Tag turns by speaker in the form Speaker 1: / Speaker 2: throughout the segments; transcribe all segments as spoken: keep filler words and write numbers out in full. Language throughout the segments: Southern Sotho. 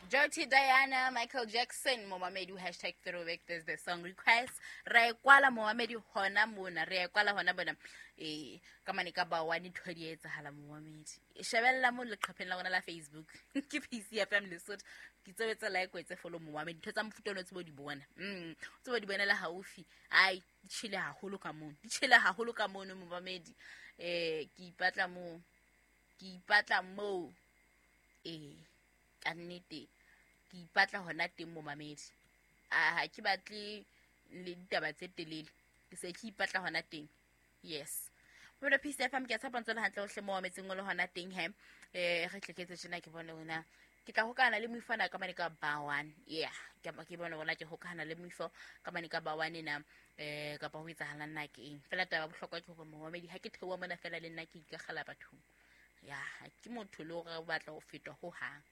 Speaker 1: Dirty Diana, Michael Jackson, momamedi, hashtag throwback Thursday song request. Re e kwala momamedi hona mona, re e kwala hona bona. Eh, ka mane ka ba one ntho di etsahala momamedi. Shebella mo leqhepheng la rona la Facebook. Ke P C F M Lesotho. Ke tsebetsa like o etse follow momamedi. Ntho tsa mofuta ono tsebo di bona. Mm, tsebo di bonela haufi. Ai, di tjhele haholo ka mono. Di tjhele haholo ka mono momamedi. Eh, ke ipatla mo. Ke ipatla mo. Eh, ka nnete ke ipatla hona teng momamedi. A ha ke batle le ditaba tse telele, ke se ke ipatla hona teng. Yes, mona P C F M, ke a tshepa ntse le hantle hohle mo mametseng o le hona teng. He, eh re tleketse tjena, ke bone hona ke tla hokahana le moifana ka mane ka ba one. Yeah, ke ke bone hona ke hokahana le moifo ka mane ka ba one na eh kapa ho etsahalang na ke eng. Fela taba ya bohlokwa ke hore momamedi, ha ke theoha mona fela le nna ke ikakgela bathong. Ya, ha ke motho le hore o batla ho feta ho hang,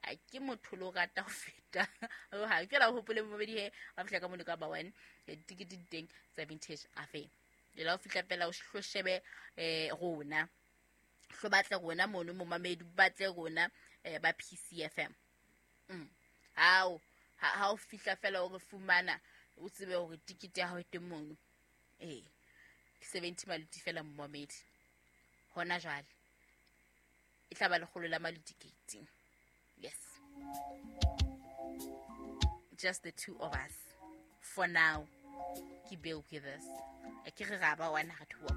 Speaker 1: ha ke motho le o rata ho feta ho hang. Fela o hopole momamedi, he wa fihla ka mono ka ba one, ditikete di teng tsa Vintage Afe lela. O fihla fela o hlo shebe eh rona, hlo batle rona mono momamedi, batle rona eh ba P C F M. mm. Hao ha ha o fihla fela o re fumana, o tsebe hore tikete ya hao e teng mono. Ee, seventy maluti fela momamedi. Hona jwale e tla ba lekgolo la maluti gate. Yes, just the two of us for now. Ke bear with us, a ke re ra ba one re thoa.